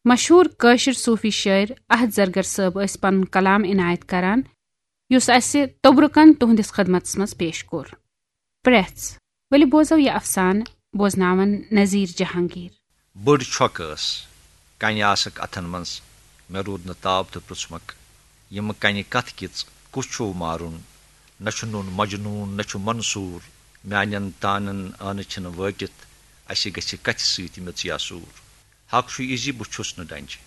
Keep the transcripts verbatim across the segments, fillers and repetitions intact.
مشہوٗر کٲشِر صوٗفی شٲعر احد زرگر صٲب ٲسۍ پنُن کلام عنایت کران، یُس اسہِ توٚبرُکن تُہنٛدِس خدمتس منٛز پیش کوٚر۔ پرٛٮ۪ژھ۔ ؤلِو بوزو یہِ افسانہٕ، بوزناون نذیر جہانگیر۔ بٔڑ چھۄکھ ٲس، کنہِ آسکھ اتھن منٛز۔ مےٚ روٗد نہٕ تاب تہٕ پرٛژھمکھ، "یِمہٕ کنہِ کتھ کِژ؟ کُس چھُو مارُن؟ نہ چھُ نوٗن مجنوٗن، نہ چھُ منصوٗر۔ میانٮ۪ن تانن ٲنہٕ چھِنہٕ وٲٹِتھ، اسہِ گژھِ کتھِ سۭتۍ میٚژ یا سوٗر۔ حق چھُ یہِ زِ بہٕ چھُس نہٕ ڈنجہِ۔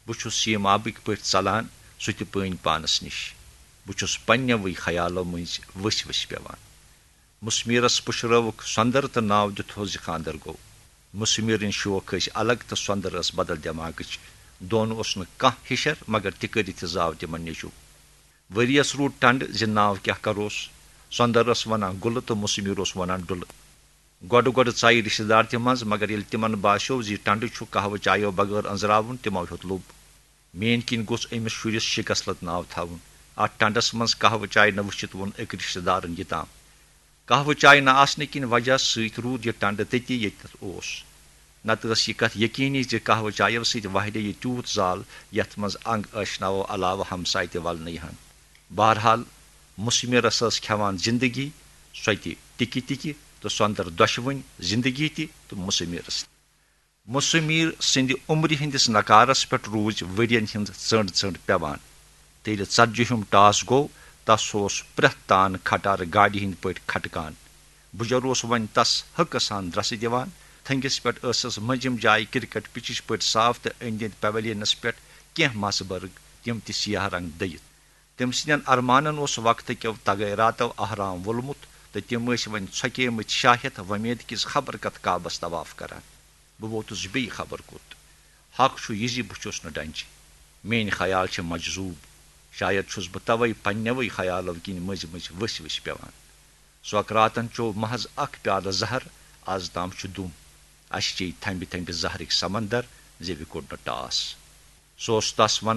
بہٕ چھُس سیٖم آبٕکۍ پٲٹھۍ ژلان، سُہ تہِ پٲنۍ پانس نِش۔ بہٕ چھُس پننٮ۪وٕے خیالو مٔنٛزۍ ؤسۍ ؤسۍ پٮ۪وان۔" مُسمیٖرس پُشرٲوُکھ سۄندر تہٕ ناو دیُتہوس زِ خاندر گوٚو۔ مُسمیٖرٕنۍ شوق ٲسۍ الگ تہٕ سۄندر ٲس بدل دٮ۪ماغٕچ۔ دۄن اوس نہٕ کانٛہہ ہِشر، مگر تہِ کٔرِتھ زاو تِمن نیٚچوٗ۔ ؤریس روٗد ٹنڈٕ زِ ناو کیٛاہ کروس۔ سۄندر ٲس ونان گُلہٕ تہٕ مُسمیٖر اوس ونان ڈُلہٕ۔ گۄڈٕ گۄڈٕ ژایہِ رشتہٕ دار تہِ منٛز، مگر ییٚلہِ تِمن باسیو زِ ٹنڈٕ چھُ قہوٕ چایو بغٲر أنزراوُن، تِمو ہیوٚت لوٚب۔ میٲنۍ کِنۍ گوٚژھ أمِس شُرِس شِکسلت ناو تھاوُن۔ اتھ ٹنڈس منٛز قہوٕ چاے نہ وٕچھِتھ ووٚن أکۍ رشتہٕ دارن یہِ تام۔ قہوٕ چاے نہ آسنہٕ کِنۍ وجہ سۭتۍ روٗد یہِ ٹنڈٕ تٔتی ییٚتٮ۪تھ اوس۔ نتہٕ ٲس یہِ کتھ یقینی زِ قہوٕ چایو سۭتۍ وہلے یہِ تیوٗت زال، یتھ منٛز انگ ٲشناوو علاوٕ ہمساے تہِ ولنہٕ یِہن۔ بہرحال، مُسمِرس ٲس کھٮ۪وان زندگی، سۄ تہِ ٹِکہِ ٹِکہِ تہٕ سۄندر دۄشوٕنۍ، زندگی تہِ تہٕ مُسمِرس تہِ۔ مُسمِر سٕنٛدِ عمرِ ہٕنٛدِس نقارس پٮ۪ٹھ روٗزۍ ؤرین ہٕنٛز ژٔنڈ ژٔنڈ پٮ۪وان۔ تہٕ ییٚلہِ ژتجی ہُم ٹاس گوٚو، تس اوس پرٛٮ۪تھ تان کھٹارٕ گاڑِ ہٕنٛدۍ پٲٹھۍ کھٹکان۔ بُجر اوس وۄنۍ تس حقہٕ سان درسہٕ دِوان۔ تھٔنگِس پٮ۪ٹھ ٲسٕس مٔنٛزِم جایہِ کرکٹ پِچِچ پٲٹھۍ صاف تہٕ أنٛدۍ أنٛدۍ پویلینس پٮ۪ٹھ کینٛہہ مسہٕ برگ، تِم تہِ سیاہ رنگ دٔیِتھ۔ تٔمۍ سٕنٛدٮ۪ن ارمانن اوس وقتہٕ کیو تغیراتو احرام وولمُت تہٕ تِم ٲسۍ وۄنۍ ژھۄکیمٕتۍ شاہ ہٮ۪تھ وۄمید کِس خبر کتھ کعبس طواف کران۔ بہٕ ووتُس بیٚیہِ خبر کوٚت۔ حق چھُ یہِ زِ بہٕ چھُس نہٕ ڈنجہِ۔ میٲنۍ خیال چھِ مجذوب۔ شاید چھُس بہٕ توے پننٮ۪وٕے خیالو کِنۍ مٔنٛزۍ مٔنٛزۍ ؤسۍ ؤسۍ پٮ۪وان۔ سوکراتن چوٚو محض اکھ پیالہٕ زہر، از تام چھُ دُم۔ اسہِ چیٚیہِ تھمبہِ تھمبہِ زہرٕکۍ سمندر، زِ وِ کوٚڑ نہٕ ٹاس۔ سُہ اوس تس ونان،